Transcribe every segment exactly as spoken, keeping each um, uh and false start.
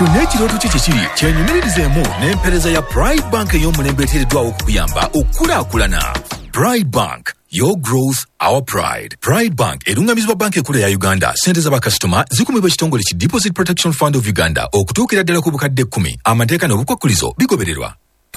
Kyonna ekirooto kye kye kiri, kyenyumiririzeemu n'empeereza ya Pride Bank ey'omulembe eteereddwawo okukuyamba okukulaakulana. Pride Bank, your growth, our pride. Pride Bank erungamizibwa Banka Enkulu ya Uganda. Sente z'abakasitoma zikumibwa ekitongole ki Deposit Protection Fund of Uganda okutuukira ddala ku bukadde kkumi. Amateeka n'obukwakkulizo bigobererwa.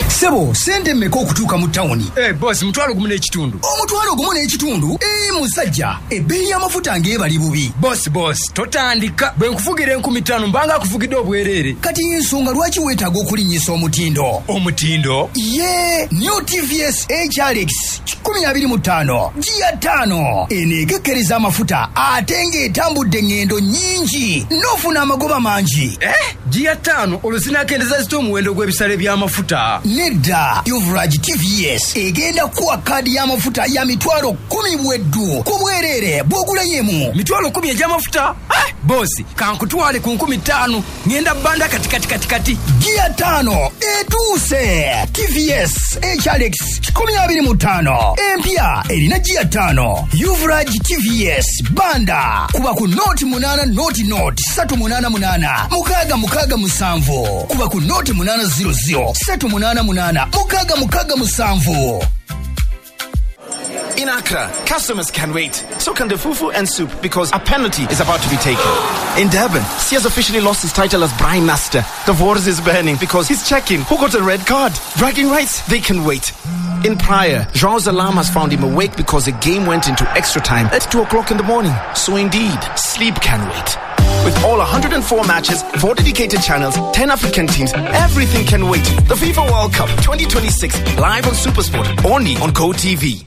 Sebo, sente mmeka okutuuka mu tawuni? Hey, boss, mutwalo gumu n'ekitundu. Omutwalo gumu n'ekitundu? Ee, musajja, ebbeeyi y'amafuta ng'ebali bubi. Boss, boss, totandika. Bwe nkuvugira enkumi ttaano mbanga akuvugidde obwereere. Kati ensonga lwaki weetaaga okulinnyisa omutindo? Omutindo? Ye new T V S H R X kikumi abiri mu ttaano giya ttaano. Eno ekekkereza amafuta ate ng'etambudde eŋŋendo nnyingi n'ofuna amagoba mangi. Eh, giya ttaano, olwo zinaakendeza zita omuwendo gw'ebisale by'amafuta? Nedda, Uvrage T V S egenda kuwa kaadi y'amafuta ya mitwalo kumi bweddu ku bwereere bw'ogulayo emu. Mitwalo kumi egy'amafuta? Eh, boss, kankutwale ku nkumi ttaano, ŋŋenda bbanda kati kati kati kati. Giya ttaano etuuse. T V S H R X kikumi abiri mu ttaano empya erina giya ttaano. Uvrage T V S banda kuba ku noti munaana noti noti satu munaana munaana mukaaga mukaaga musanvu, kuba ku noti munaana zero zero satu munaana munaana mukaaga mukaaga musanvu. In Accra, customers can wait. So can the fufu and soup, because a penalty is about to be taken. In Durban, Sia's officially lost his title as Brian Master. The wars is burning because he's checking who got a red card. Bragging rights, they can wait. In Praia, João's alarm has found him awake because the game went into extra time at two o'clock in the morning. So indeed, sleep can wait. With all one hundred four matches, four dedicated channels, ten African teams, everything can wait. The FIFA World Cup twenty twenty-six, live on SuperSport, only on GoTV.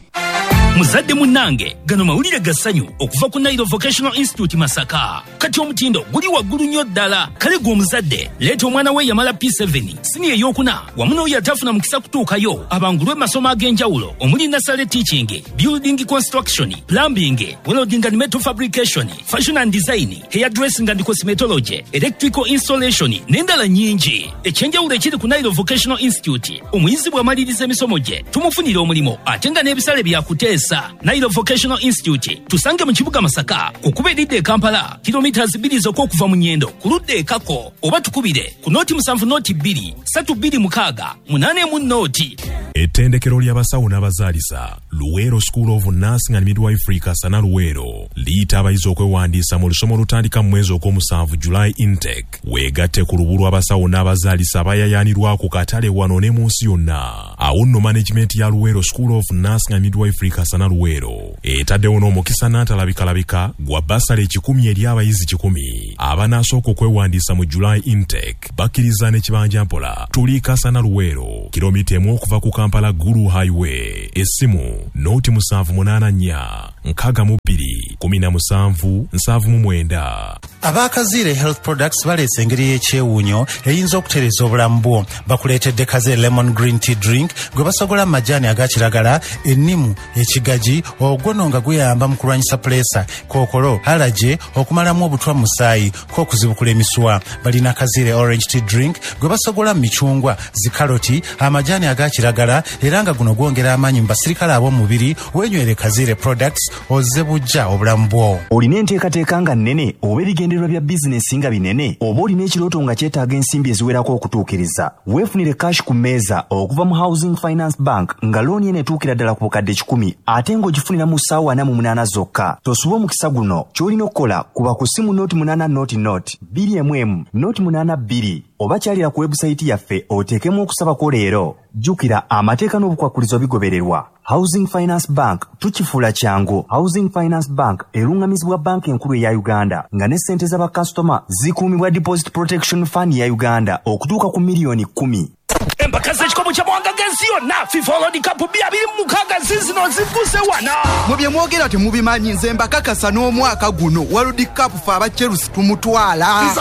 Muzadde munnange, gano mawulire ga ssanyu okuva ku Nairo Vocational Institute Masaka. Kati omutindo guli waggulu nnyo ddala. Kale gwe omuzadde, leeta omwana we yamala P seven, siniya eyokuna, wamu n'oyo atafuna mukisa kutuukayo, abangulwe mu masomo ag'enjawulo omuli nursery teaching, building construction, plumbing, welding and metal fabrication, fashion and design, hair dressing and cosmetology, electrical installation n'endala nnyingi. Ekyenjawulo ekiri ku Nairo Vocational Institute, omuyizi bw'amaliriza emisomo gye tumufunira omulimu ate nga n'ebisale byakuteesa. Nairo Vocational Institute tusange mu kibuga Masaka, ku kkubo eridda e Kampala, kilomita bbiri zokka okuva mu Nyendo ku ludda ekako, oba tukubire ku nooti musanvu nooti bbiri satu bbiri mukaaga munaana emu nooti. Ettendekero ly'abasawo n'abazaalisa Luweero School of Nursing and Midwifery Kasana Luweero liyita abayizi okwewandiisa mu lusoma olutandika mu mwezi ogw'omusanvu, July intake. Weegatte ku lubu lw'abasawo n'abazaalisa abayayaanirwa ku katale wano ne mu nsi yonna. Awo nno management ya Luweero School of Nursing and Midwifery Kasana Luweero etaddewo n'omukisa n'antalabikalabika gwa basale ekikumi eri abayizi kikumi abanaasooka okwewandiisa mu July intake. Bakkiriza n'ekibanja mpola. Tuli Kasana Luweero, kilomita emu okuva ku Kampala Gulu Highway. Essimu nooti musanvu munaana nnya nkaaga mu bbiri kumi na musanvu nsanvu mu mwenda. Abakaziire Health Products baleese engeri y'ekyewuunyo eyinza okutereeza obulamu bwo. Bakuleetedde Kaze Lemon Green Tea Drink gwe basogola mu majaani aga kiragala, ennimu, ekigaji, ogwono nga guyamba mu kulwanyisa puleesa, kookolo, allergy, okumalamu obutwa mu musaayi, k'okuzibukula emisuwa. Balina Kaziire Orange Tea Drink gwe basogola mu micungwa, zikaloti, amajaani aga kiragala, era nga guno gwongera amaanyi mu basirikale ab'omubiri. Weenywere Kaziire Products ozze bujja obulamu bwo. Olina enteekateeka nga nnene oba ebigendererwa bya bizinesi nga binene, oba olina ekirooto nga kyetaaga ensimbi eziwerako okutuukiriza, weefunire cash ku mmeeza okuva mu Housing Finance Bank, nga looni eno etuukira ddala ku bukadde kikumi ate ng'ogifunira mu ssaawa ana mu munaana zokka. Tosuba omukisa guno. Ky'olina okukola, kuba ku ssimu nooti munaana nooti nooti bbiri emu emu nooti munaana bbiri oba kyalira ku webusayiti yaffe oteekemu okusabako leero. Jjukira, amateeka n'obukwakkulizo bigobererwa. Housing Finance Bank, tukifuula kyangu. Housing Finance Bank eruŋŋamizibwa Banka Enkulu eya Uganda, nga ne ssente z'abakasitoma zikuumibwa Deposit Protection Fund ya Uganda okutuuka ku miliyoni kkumi. Empaka z'ekikopo ky'amawanga g'ensi yonna, FIFA World Cup bbiri abiri mu mukaaga, zizino ziguse wana. Mu bye mwogera temubimanyi. Nze mbakakasa, n'omwaka guno World Cup fe aba Chelsea tumutwala.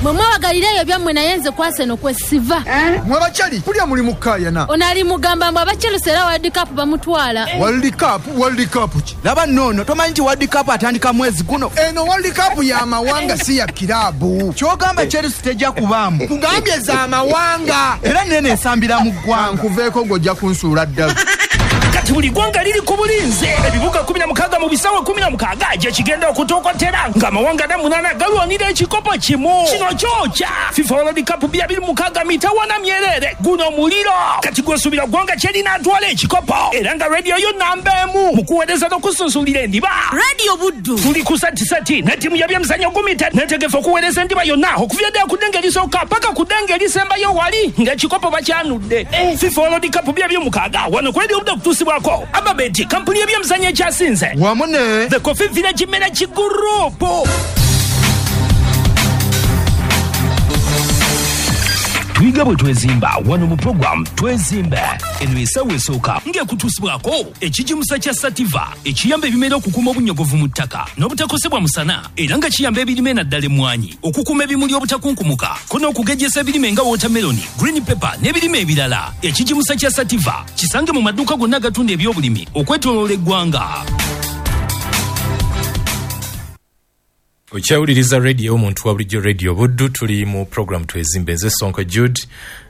Mwe mwewagalira ebyo byammwe, naye nze kwaseno kwe siva. Mwe abakyali kulya muli mukaayana. Ono ali mugamba mbu aba Chelsea era World Cup bamutwala. World Cup, World Cup ki? Laba nnono, tomanyi nti World Cup atandika mwezi guno? Eno World Cup y'amawanga, si ya kiraabu. Kyogamba Chelsea tejja kubaamu? Kugambye z'amawanga, era nene esambira mu ggwanga. Nkuveeko, ng'ojja kunsuula ddala. Kati Kati buli ggwanga liri ku bulinze, ebibuga kumi na mukaaga mu bisawe kumi na mukaaga gye kigenda okutokotera ng'amawanga ana munaana galwanira ekikopo kimu. Kino kyokya FIFA World Cup bya biri mukaaga mitawana myerere, guno muliro. Kati gwesuubira ggwanga kyerinaatwala ekikopo, era nga rediyo yo namba emu mu kuweereza n'okusunsulira endiba. Radio Buddu tuli ku satisati ne ttiimu y'ebyemizannyo gumita netegefu okuweereza endiba yonna okuva ddala ku ddenge erisooka paka ku ddenge erisembayo wali ng'ekikopo bakyanudde. FIFA World Cup bya byomukaaga wano ku Radio Buddu okutuusibwako Ababeti, kampuni y'ebyemizannyo ekyasinze wamu ne The Coffee Village Management Group. Tuyiga bwe twezimba wano mu program Twezimbe. Eno essaawa esooka ng'ekutuusibwako ekigimusa kya Sativa ekiyamba ebimera okukuuma obunnyogovu mu ttaka n'obutakosebwa musana, era nga kiyamba ebirime naddala emmwanyi okukuuma ebimuli obutakunkumuka ko n'okugejjesa ebirime nga watermelon, green pepper n'ebirime ebirala. Ekigimusa kya Sativa kisange mu maduuka gonna agatunda ebyobulimi okwetooloola eggwanga. Okyawuliriza radio omuntu wa bulijjo, Radio Buddu. Tuli mu program Twezimbe. Nze Sonko Jude,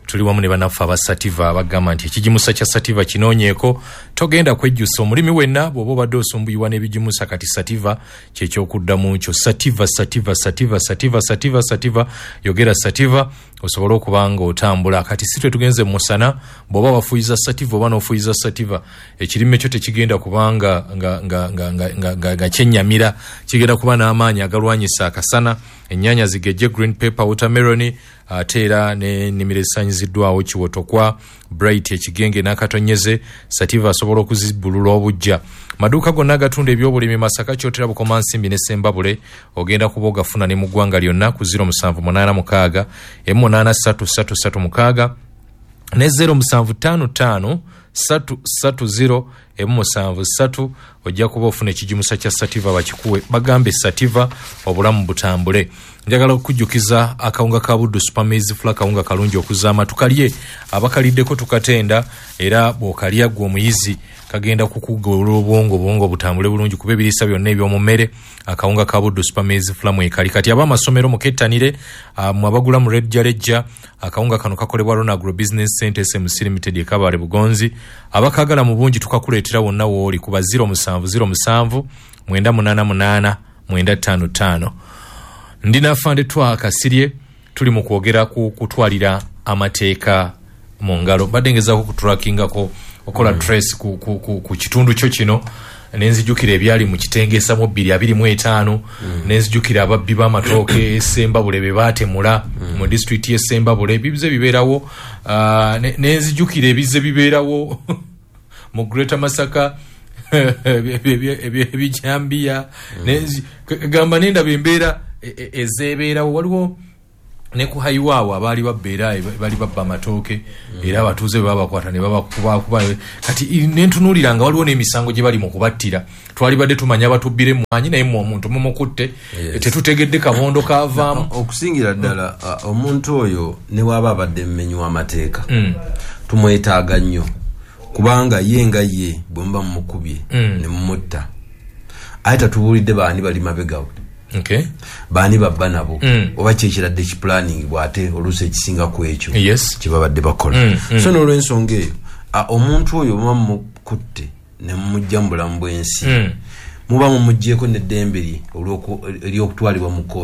tuli wamu ne bannaffe aba Sativa abagamba nti ekigimusa kya Sativa kinoonyeeko, togenda kwejjusa. Omulimi wenna bw'oba obadde osumbuyibwa n'ebigimusa, kati Sativa kyekyokuddamu kyo. Sativa, Sativa, Sativa, Sativa, Sativa, Sativa, yogera Sativa osobole okuba nga otambula. Kati si twe tugenze mu musana, bw'oba wafuyiza Sativa oba n'ofuyiza Sativa, ekirime kyo tekigenda kubanga nga, nga, nga, nga, nga, nga, nga kyennyamira, kigenda kuba n'amaanyi agalwanyisa akasana. Ennyaanya zigejje, green pepper, watermelon, ate era n'ennimiro ezisaanyiziddwawo kiwotokwa, bright, ekigenge n'akatonyeze. Sativa asobola okuzibbulula obujja. Maduuka gonna agatunda ebyobulimi Masaka, Kyotera, Bukomansimbi ne Sembabule ogenda kuba ogafuna, ne mu ggwanga lyonna ku zero musanvu munaana mukaaga emu munaana ssatu ssatu ssatu mukaaga ne zero musanvu ttaano ttaano ssatu ssatu zero emu musanvu ssatu. Ojja kuba ofuna ekigimusa kya Sativa, bakikuwe, bagambe Sativa obulamu butambule. Njagala okujjukiza akawunga ka Buddu Super Maize Flour, kawunga kalungi okuzaama, tukalye, abakaliddeko tukatenda, era bw'okalya ggwe omuyizi kagenda kukugola obwongo, obwongo butambule bulungi kuba ebiriisa byonna eby'omu mmere akawunga ka Buddu Super Maize Flour mwekali. Kati ab'amasomero mukettanire, mwe abagula mu rejjalejja, akawunga kano kakolebwa Rona Agro Business Center S M C Limited e Kabale Bugonzi. Abakaagala mu bungi tukakuleetera wonna w'oli kuba zero musanvu zero musanvu mwenda munaana munaana mwenda ttaano ttaano. Ndi nafande twakasirye, tuli mu kwogera ku kutwalira amateeka mu ngalo. Mbadde ngezaako kutrakingako okola mm. trace ku, ku, ku, ku kitundu kyo kino, nenzijukira ebyali mu Kitengeesa mu bbiri abiri mu etaano, mm. nenzijukira ababbi b'amatooke e Sembabule be baatemula mm. mu disitulikiti y'e Sembabule, ebibize bibeerawo, uh, nenzijukira ebize bibeerawo mu Greater Masaka ebijambiya, gamba nendaba embeera ezeebeerawo. Waliwo ne ku hayiwaawo abaali babba, era bali babba amatooke, era abatuuze bwe babakwata ne babakubakuba. Kati nentunuulira nga waliwo n'emisango gye bali mu kubattira. Twalibadde tumanya abatubbira emmwanyi, naye mmwe omuntu mumukutte, tetutegedde kabondo kaavaamu. Okusingira ddala omuntu oyo ne bw'aba abadde mumenyi w'amateeka, tumwetaaga nnyo, kubanga ye nga ye bwe muba mumukubye ne mumutta, aye tatubuulidde baani bali mabegawe. Okay. Baani babba nabo, mm. oba kyekiradde kiplanning bw'ate oluusi ekisinga ku ekyo yes. kye babadde bakola. mm, mm. So n'olw'ensonga eyo omuntu oyo muba mumukutte ne mumujja mu bulamu bw'ensi, mm. muba mumuggyeko n'eddembe lye ery'okutwalibwa mu kkooti.